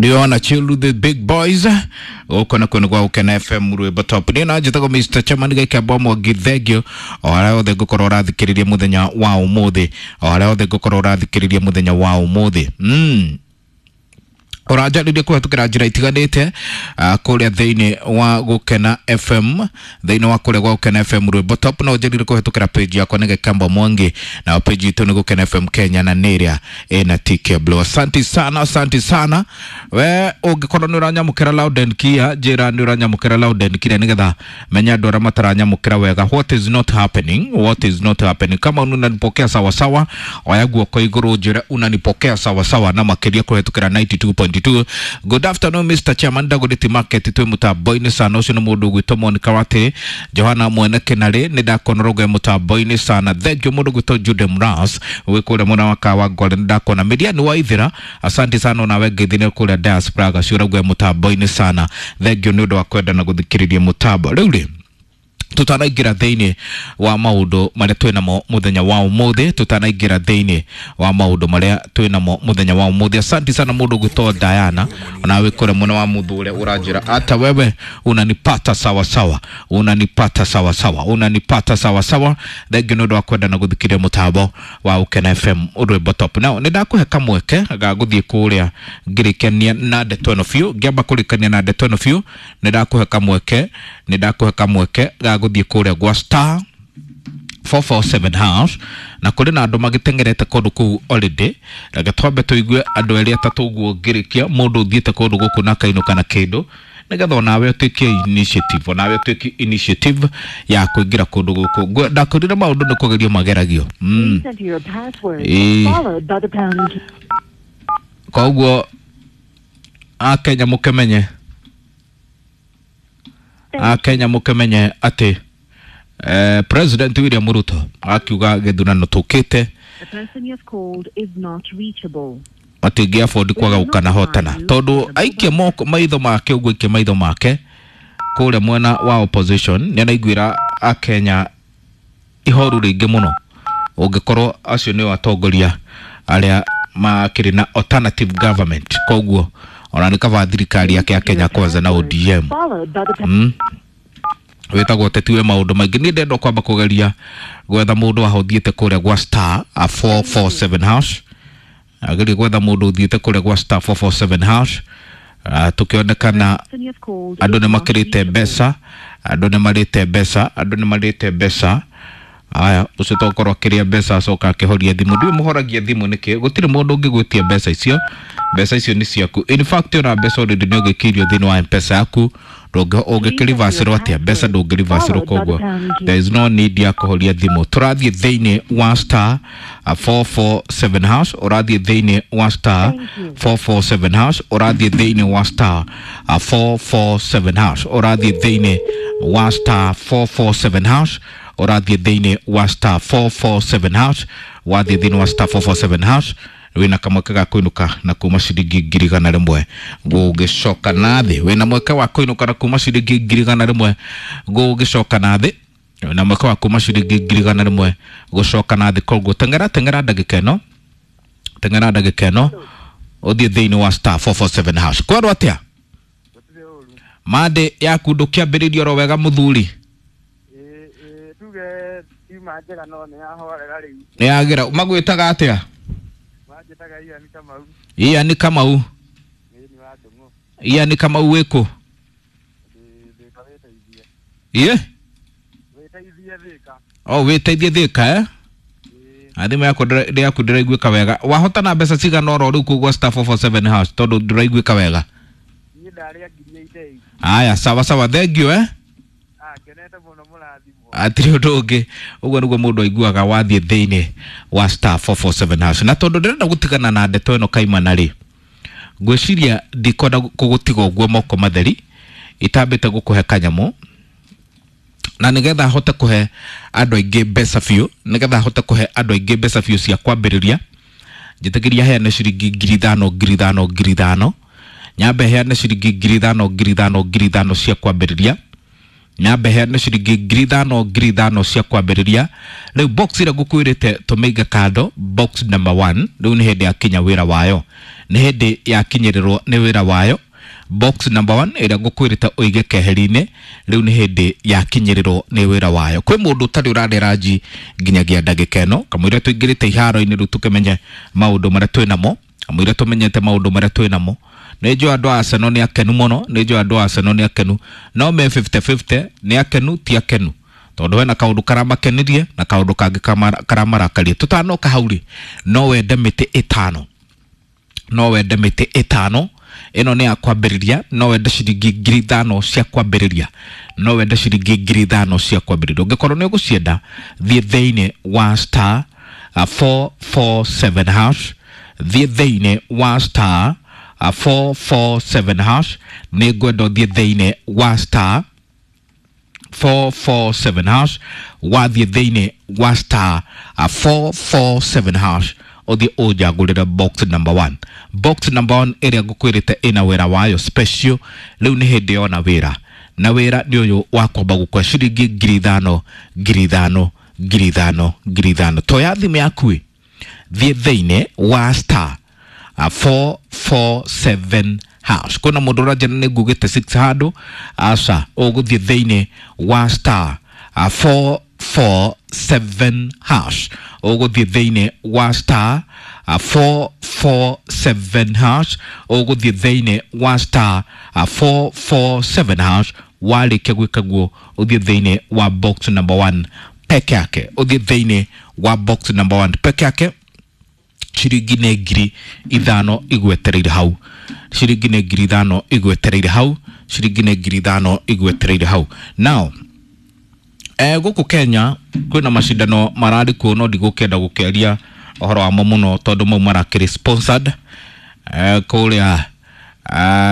Ndio chill with the big boys gũkũ na kũndũ gwa Gũkena FM rwĩmbo top. Niĩ no njĩtagwo Mr. Chairman Gĩkĩamba Mwangi, thengio o harĩa hothe ngũkorwo ũrathikĩrĩria mũthenya wa ũmũthĩ, o harĩa hothe ngũkorwo ũrathikĩrĩria mũthenya wa ũmũthĩ. Ũranjarĩria kũhetũkĩra njĩra itiganĩte kũrĩa thĩinĩ wa Gũkena FM, thĩinĩ wa kũrĩa gwa Gũkena FM rwĩmbo top. No ũnjarĩrie kũhetũkĩra page yakwa nĩ Gĩkamba Mwangi, na page itũ nĩ Gũkena FM Kenya, na nĩ ĩrĩa ĩna TK Blue. Asante sana, asante sana. We ũngĩkorwo nĩ ũranyamũkĩra loud and clear, njĩra nĩ ũranyamũkĩra loud and clear, nĩgetha menya andũ arĩa mataranyamũkĩra wega. What is not happening, what is not happening? Kama unanipokea sawa sawa, oya guoko igũrũ njĩre unanipokea sawa sawa, na makĩria kũhetũkĩra 92.2. Good afternoon Mr. Chairman, Dagoretti Market twĩ mũtambo-inĩ sana. Ũcio nĩ mũndũ ũgwĩtwo Monica Wate Johana Mwene Kenarĩ, nĩ ndakona rũgwe mũtambo-inĩ sana. Thank you mũndũ ũgwĩtwo Jude Mras wĩ kũrĩa mwena wa Kawangware, nĩ ndakona Miriam wa Ithira, asante sana onawe ngeithi kũrĩa diaspora gaciũra gwe mũtambo-inĩ sana. Thank you nĩ ũndũ wa kwenda na gũthikĩrĩria mũtambo. Rĩu rĩ, tutanaingĩra thĩinĩ wa maũndũ marĩa twĩnamo mũthenya wa ũmũthĩ, tutanaingĩra thĩinĩ wa maũndũ marĩa twĩnamo mũthenya wa ũmũthĩ. Asante sana mũndũ ũgwĩtwo Diana, onawe kũrĩa mwena wa Muthure ũranjĩra ata wewe unanipata sawa sawa, unanipata sawa sawa, unanipata sawa sawa. Thank you nĩ ũndũ wa kwenda na gũthikĩrĩria mũtambo wa Gũkena FM rwĩmbo top. Now nĩ ndakũhe kamweke ga gũthiĩ kũrĩa ngĩrĩkania na ndeto ĩno biũ, ngĩamba kũrĩkania na ndeto ĩno biũ. Nĩ ndakũhe kamweke, nĩ ndakũhe kamweke ga gũthiĩ kũrĩa gwa star 447 hash, na kũrĩ na andũ magĩteng'erete kũndũ kũu already. Reke twambe tũigue andũ erĩ atatũ ũguo ngĩrĩkia, mũndũ ũthiĩte kũndũ gũkũ na akainũka na kĩndũ, nĩgetha onawe ũtuĩke initiative, onawe ũtuĩke initiative ya kũingĩra kũndũ gũkũ. Ndakwĩrire maũndũ nĩ kũgerio mageragio. Please enter your password followed by the pound key. Koguo Akenya mũkĩmenye, Akenya mũkĩmenye atĩ President William Ruto akiuga gĩthurano tũkĩte The person you have called is not reachable. matingĩ afford kwaga gũkanahotana, tondũ aikia moko maitho make ũguo, aikia maitho make kũrĩa mwena wa opposition, nĩ araiguĩra Akenya ihoru rĩingĩ mũno ũngĩkorwo acio nĩo atongoria arĩa makĩrĩ na alternative government. Koguo ona nĩ kaba thirikari yake ya Kenya Kwanza na ODM. Followed by the pound. Wĩtagwo ũteti wĩ maũndũ maingĩ. Niĩ ndenda kwamba kũgeria gwetha mũndũ ahothiĩte kũrĩa gwa star 447 hash, agerie gwetha mũndũ ũthiĩte kũrĩa gwa star 447 hash. Tũkĩonekana Person you have called andũ is nĩ not makĩrĩte reachable. mbeca, andũ nĩ marĩte mbeca, andũ nĩ marĩte mbeca. Aya, ũcio tokorwo akĩrĩa mbeca acoka akĩhoria thimũ. Ndiũĩ mũhoragia thimũ nĩkĩ? Gũtirĩ mũndũ ũngĩgwĩtia mbeca icio, mbeca icio nĩ ciaku. In fact ona mbeca already nĩ ũgĩkĩirio thĩinĩ wa M-Pesa yaku, ũngĩkĩrivacĩrwo atĩa mbeca? Ndũngĩrivacĩrwo, koguo there is no need ya kũhoria thimũ. Tũrathiĩ thĩinĩ wa star 447 hash, ũrathiĩ thĩinĩ wa star 447 hash, ũrathiĩ thĩinĩ wa star 447 hash, ũrathiĩ thĩinĩ wa star 447 hash, ũrathiĩ thĩinĩ wa star 447 hash, wathiĩ thĩinĩ wa star 447 hash wĩna kamweke ga kũinũka na kuma ciringi 100,000 gũgĩcoka na thĩ. Wĩna mweke wa kũinũka na kuma ciringi 100,000 gũgĩcoka na thĩ, wĩna mweke wa kuma ciringi 100,000 gũcoka na thĩ. Koguo teng'era, teng'era ndagĩka ĩno, teng'era ndagĩka ĩno ũthiĩ thĩinĩ wa star 447 hash. Kwerwo atĩa mande yaku? Ndũkĩambĩrĩria oro wega mũthuri? Tuge tiuma njega no nĩ yahorera rĩu. Nĩ yagĩra. Magwĩtaga atĩa? Manjĩtaga Ian Kamau. Ian Kamau. Ĩĩ, nĩ wa Ndũng'ũ. Ian Kamau wĩkũ? Thĩka wĩteithie. Iye. Wĩteithie Thĩka. O wĩteithie Thĩka, eh? Ĩĩ. Thimũ yaku yaku ndĩraiguĩka wega. Wahotana mbeca cigana oro rĩu kũu gwa star 447 hash, tondũ ndĩraiguĩka wega? Niĩ ndarĩa 88,000. Aya, sawa sawa, thank you, eh. Ah, ngenete mũno, mũrathimwo. Atirĩ ũndũ ũngĩ, ũguo nĩguo mũndũ aiguaga wathiĩ thĩinĩ wa star 447 hash. Na tondũ ndĩrenda gũtigana na ndeto ĩno kaimana rĩ, ngwĩciria ndikwenda kũgũtiga ũguo moko matheri itambĩte gũkũhe kanyamũ, na nĩgetha hote kũhe andũ aingĩ mbeca biũ, nĩgetha hote kũhe andũ aingĩ mbeca biũ cia kwambĩrĩria, njĩtĩkĩria heane ciringi 5,000, 5,000, 5,000. Nyambe heane ciringi 5,000, 5,000, 5,000 cia kwambĩrĩria. Nyambe heane ciringi 5,000, 5,000 cia kwambĩrĩria. Rĩu box ĩrĩa ngũkwĩrĩte tũmĩige kando, box number 1, rĩu nĩ hĩndĩ yakinya wĩra wayo. Nĩ hĩndĩ yakinyĩrĩrwo nĩ wĩra wayo. Box number 1 ĩrĩa ngũkwĩrĩte ũige keheri-inĩ rĩu nĩ hĩndĩ yakinyĩrĩrwo nĩ wĩra wayo. Kwĩ mũndũ ũtarĩ ũrarĩa ranji nginyagia ndagĩka ĩno, kamũira tũingĩrĩte iharo-inĩ rĩu tũkĩmenye maũndũ marĩa twĩ namo, kamũira tũmenyete maũndũ marĩa twĩ namo. Nĩ njũĩ andũ a Arsenal nĩ akenu mũno, nĩ njũĩ andũ a Arsenal nĩ akenu, no me 50-50, nĩ akenu ti akenu, tondũ hena kaũndũ karamakenirie na kaũndũ kangĩ karamarakaria. Tũtanoka hau rĩ, no wende mĩtĩ ĩtano, no wende mĩtĩ ĩtano ĩno nĩ ya kwambĩrĩria, no wende ciringi 5,000 cia kwambĩrĩria, no wende ciringi 5,000 cia kwambĩrĩria. Ũngĩkorwo nĩ ũgũcienda, thiĩ thĩinĩ wa star 447 hash, thiĩ thĩinĩ wa star 447 hash. Nĩ ngwenda ũthiĩ thĩinĩ wa star 447 hash. Wathiĩ thĩinĩ wa star 447 hash, ũthiĩ ũnjagũrĩre box number 1. Box number 1 ĩrĩa ngũkwĩrĩte ĩna wĩra wayo special, rĩu nĩ hĩndĩ yona wĩra, na wĩra nĩ ũyũ wa kwamba gũkua ciringi 5,000, 5,000, 5,000, 5,000. Toya thimũ yaku ĩ, thiĩ thĩinĩ wa star 447 hash. Kwĩna mũndũ ũranjĩra nĩ ngugĩte 6 handũ, aca, ũgũthiĩ thĩinĩ wa star 447 hash, ũgũthiĩ thĩinĩ wa star 447 hash, ũgũthiĩ thĩinĩ wa star 447 hash. Warĩkia gwĩka guo, ũthiĩ thĩinĩ wa box number 1 peke yake, ũthiĩ thĩinĩ wa box number 1 peke yake. Ciringi nĩ 5,000 igwetereire hau, ciringi nĩ 5,000 igwetereire hau, ciringi nĩ 5,000 igwetereire hau. Now gũkũ Kenya kwĩna macindano mararĩ kuo, no ndigũkĩenda gũkĩaria ũhoro wamo mũno tondũ mau marakĩrĩ sponsored. Kũrĩa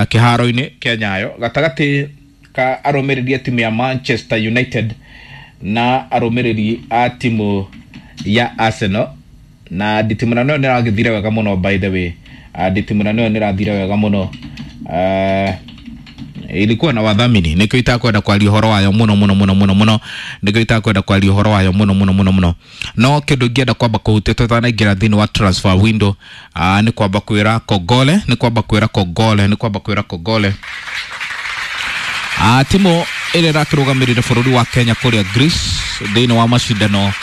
kĩharo-inĩ kĩa Nyayo gatagatĩ ka arũmĩrĩri a timu ya Manchester United na arũmĩrĩri a timu ya Arsenal, na nditimũrano ĩyo nĩ ĩragĩthire wega mũno, by the way. Nditimũrano ĩyo nĩ ĩrathire wega mũno. Ilikuwa na wadhamini, nĩkĩo itakwenda kwaria ũhoro wayo mũno mũno mũno mũno mũno, nĩkĩo itakwenda kwaria ũhoro wayo mũno mũno mũno mũno. No kĩndũ ingĩenda kwamba kũhutia tũtanaingĩra thĩinĩ wa transfer window, nĩ kwamba kwĩra kongole, nĩ kwamba kwĩra kongole, nĩ kwamba kwĩra kongole timu ĩrĩa ĩrakĩrũgamĩrĩire bũrũri wa Kenya kũrĩa Greece thĩinĩ wa macindano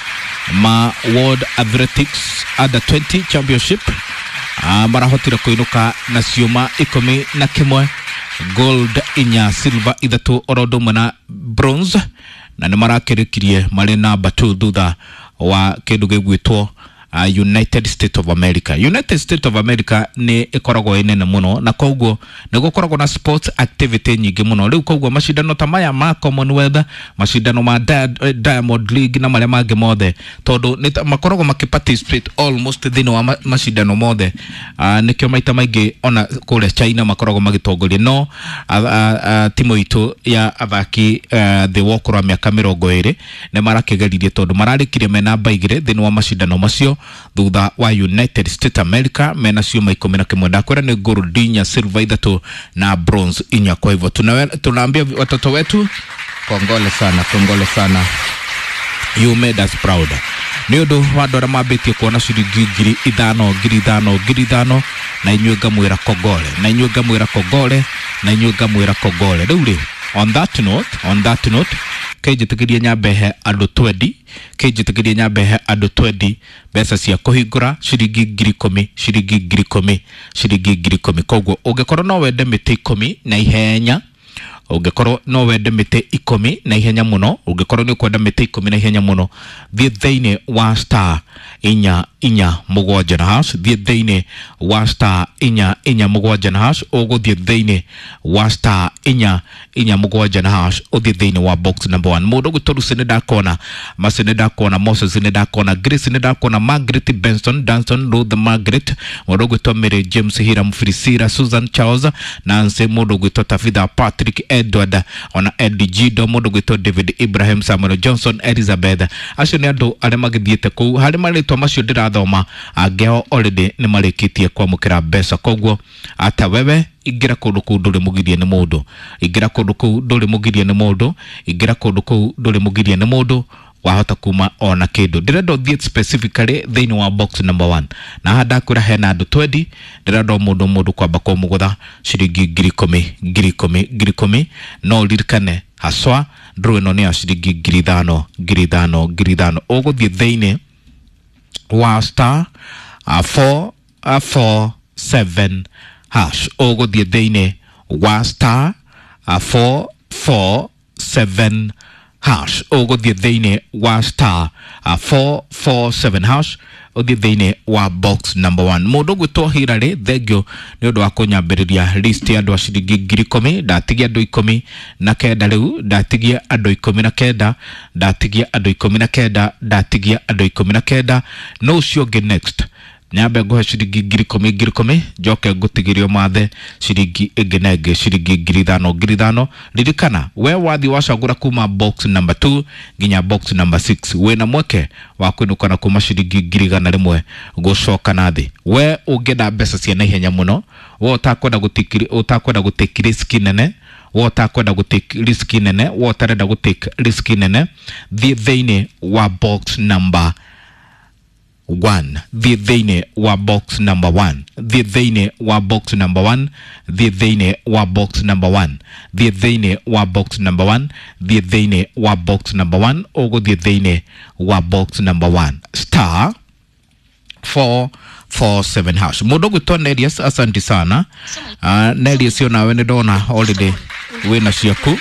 ma World Athletics Under 20 Championship. Marahotire kũinũka na ciũma 11, gold 4, silver 3, oro ũndũ ũmwe na bronze, na nĩ marakĩrĩkirie marĩ namba 2 thutha wa kĩndũ gĩgwĩtwo United States of America. United States of America nĩ ĩkoragwo ĩ nene mũno, na koguo nĩ gũkoragwo na sports activity nyingĩ mũno. Rĩu koguo macindano ta maya ma Commonwealth, macindano ma Diamond League na marĩa mangĩ mothe, tondũ nĩ makoragwo makĩ participate almost thĩinĩ wa macindano mothe. Nĩkĩo maita maingĩ ona kũrĩa China makoragwo magĩtongoria. No timu itũ ya athaki thĩ wa ũkũrũ wa mĩaka 20 nĩ marakĩgeririe, tondũ mararĩkirie me namba 2 thĩinĩ wa macindano macio thutha wa United States America mena ciuma 11. Ndakwĩra nĩ gold 4, silver 3 na bronze 4. Kwa hivyo tunaambia watoto wetu kongole sana, kongole sana, you made us proud. Nĩ ũndũ wa andũ arĩa mambĩtie kuona ciringi 5,000, 5,000, 5,000, na inyuĩ ngamwĩra kongole, na inyuĩ ngamwĩra kongole, na inyuĩ ngamwĩra kongole. Rĩu rĩ, on that note, on that note, kĩnjĩtĩkĩrie nyambe he andũ 20, kĩnjĩtĩkĩrie nyambe he andũ 20 mbeca cia kũhingũra ciringi 10,000, ciringi 10,000, ciringi 10,000. Koguo ũngĩkorwo no wende mĩtĩ 10 na ihenya, ũngĩkorwo no wende mĩtĩ 10 na ihenya mũno, ũngĩkorwo nĩ ũkwenda mĩtĩ 10 na ihenya mũno, thiĩ thĩinĩ wa star 447 na hash, thiĩ thĩinĩ wa star 447 na hash, ũgũthiĩ thĩinĩ wa star 447 na hash, ũthiĩ thĩinĩ wa box number 1. Mũndũ ũgwĩtwo Lucy nĩ ndakona, Mercy nĩ ndakona, Moses nĩ ndakona, Grace nĩ ndakona, Margaret Benson, Danson, Ruth Margaret, mũndũ ũgwĩtwo Mary James, Hiram Priscilla, Susan Charles, Nancy, mũndũ ũgwĩtwo Tabitha Patrick, Edward, ona Eddie Gido, mũndũ ũgwĩtwo David Ibrahim, Samuel Johnson, Elizabeth. Acio nĩ andũ arĩa magĩthiĩte kũu. Harĩ marĩtwa macio ndĩrathoma, angĩ ao already nĩ marĩkĩtie kwamũkĩra mbeca. Koguo ata wewe ingĩra kũndũ kũu ndũrĩ mũgirie nĩ mũndũ, ingĩra kũndũ kũu ndũrĩ mũgirie nĩ mũndũ, ingĩra kũndũ kũu ndũrĩ mũgirie nĩ mũndũ, Wahota kuma ona kĩndũ. Ndĩrenda ũthiĩ specifically thĩinĩ wa box number 1, na haha ndakwĩra hena andũ 20. Ndĩrenda o mũndũ mũndũ kwamba kũmũgũtha ciringi 10,000, 10,000, 10,000. No ũririkane haswa draw ĩno nĩ ya ciringi 5,000, 5,000, 5,000. Ũgũthiĩ thĩinĩ wa star 4 4 7 hash. Ũgũthiĩ thĩinĩ wa star 4 4 7 hash. Ũgũthiĩ thĩinĩ wa star 4 4 7 hash, ũthiĩ thĩinĩ wa box number 1. Mũndũ ũgwĩtwo Hilary, thengio nĩ ũndũ wa kũnyambĩrĩria list ya andũ a ciringi 10,000. Ndatigia andũ 19 rĩu, ndatigia andũ 19, ndatigia andũ 19, ndatigia andũ 19. No ũcio ũngĩ next nyambe nguhe ciringi 10,000, 10,000, njoke ngũtigĩrio mathe ciringi ĩngĩ na ĩngĩ, ciringi 5,000, 5,000. Ririkana we wathi wacagũra kuma box number 2 nginya box number 6, wĩna mweke wa kwĩnũka na kuma ciringi 100,000 gũcoka na thĩ. We ũngĩenda mbeca cia naihenya mũno, we ũtakwenda gũtake risk nene, we ũtakwenda gũtake risk nene, we ũtarenda gũtake risk nene, thiĩ thĩinĩ wa box number 1, thiĩ thĩinĩ wa box number 1, thiĩ thĩinĩ wa box number 1, thiĩ thĩinĩ wa box number 1, thiĩ thĩinĩ wa box number 1, thiĩ thĩinĩ wa box number 1. Ũgũthiĩ thĩinĩ wa box number 1, star 4 4 7 hash. Mũndũ ũgwĩtwo Nelius, asante sana. Nelius, onawe nĩ ndona already wĩna ciaku,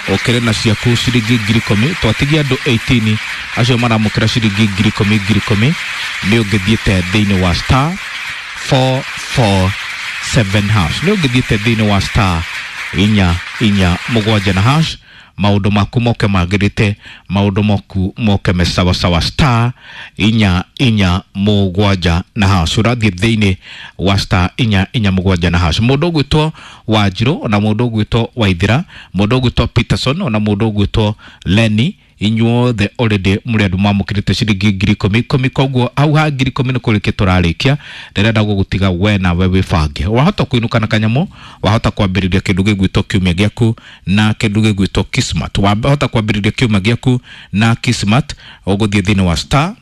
ũkĩrĩ na ciaku ciringi 10,000. Twatigia andũ 18 acio maramũkĩra ciringi 10,000, 10,000. Nĩ ũngĩthiĩte thĩinĩ wa star 447 hash, nĩ ũngĩthiĩte thĩinĩ wa star 447 na hash, maũndũ maku moke magĩrĩte, maũndũ maku moke me sawasawa. Star 447 na hash, ũrathiĩ thĩinĩ wa star 447 na hash. Mũndũ ũgwĩtwo Wanjirũ, ona mũndũ ũgwĩtwo Waithira, mũndũ ũgwĩtwo Peterson, ona mũndũ ũgwĩtwo Lenny, inyuothe already mũrĩ andũ mamũkĩrĩte ciringi 10,000, 10,000. Koguo hau ha 10,000 nĩ kũrĩkia tũrarĩkia. Ndĩrenda gũgũtiga we nawe wĩbange. Wahota kũinũka na kanyamũ, wahota kwambĩrĩria kĩndũ gĩgwĩtwo kiumia gĩaku na kĩndũ gĩgwĩtwo Kismat. Wahota kwambĩrĩria kiumia gĩaku na Kismat. Ũgũthiĩ thĩinĩ wa star,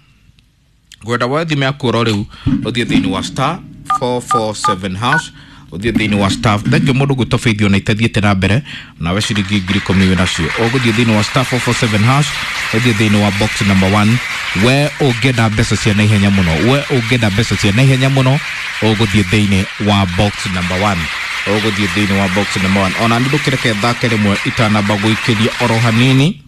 ngwenda woe thimũ yaku oro rĩu, ũthiĩ thĩinĩ wa star 447 hash, ũthiĩ thĩinĩ wa star. Thengio mũndũ gwĩtwo Faith, ona itathiĩte na mbere nawe, ciringi 10,000 wĩ nacio. Ũgũthiĩ thĩinĩ wa star 447 hash, ũthiĩ thĩinĩ wa box number 1. We ũngĩenda mbeca cia naihenya mũno, we ũngĩenda mbeca cia naihenya mũno, ũgũthiĩ thĩinĩ wa box number 1, ũgũthiĩ thĩinĩ wa box number 1. Ona nĩ ndũkĩreke thake rĩmwe itanamba gũikĩria oro hanini,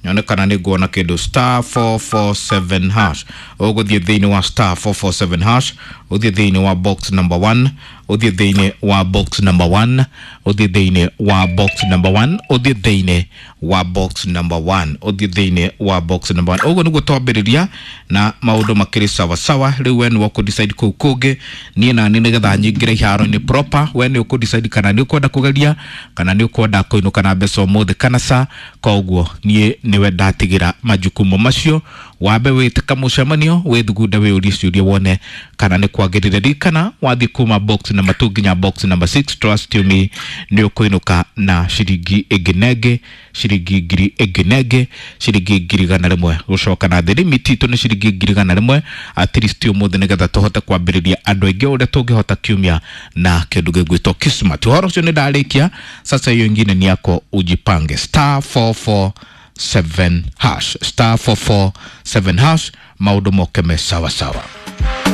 nyone kana nĩ nguona kĩndũ. Star 447 hash, ũgũthiĩ thĩinĩ wa star 447 hash, ũthiĩ thĩinĩ wa box number 1, ũthiĩ thĩinĩ wa box number 1, ũthiĩ thĩinĩ wa box number 1, ũthiĩ thĩinĩ wa box number 1, ũthiĩ thĩinĩ wa box number 1. Ũguo nĩguo twambĩrĩria na maũndũ makĩrĩ sawa sawa. Rĩu we nĩwe ũkũ-decide kũu kũngĩ, niĩ nani nĩgetha nyingĩre iharo-inĩ proper. We nĩ ũkũ-decide kana nĩ ũkwenda kũgeria, kana nĩ ũkwenda kũinũka na mbeca ũmũthĩ kana ca. Koguo niĩ nĩwe ndatigĩra majukumu macio. Wambe wĩtĩka mũcemanio, wĩthugunde, wĩyũrie ciũria, wone kana nĩ kwagĩrĩire. Ririkana wathiĩ kuma box number 2 nginya box number 6, trust you me, nĩ ũkũinũka na ciringi ĩngĩ na ĩngĩ, ciringi ngiri ĩngĩ na ĩngĩ, ciringi 100,000 gũcoka na thĩ. Limit itũ nĩ ciringi 100,000 at least ũmũthĩ, nĩgetha tũhote kwambĩrĩria andũ aingĩ ũrĩa tũngĩhota kiumia na kĩndũ gĩgwĩtwo Kismat. Ũhoro ũcio nĩ ndarĩkia. Sasa hiyo ingine ni yako, ujipange. Star 447 hash, star 447 hash, maũndũ moke me sawa sawa.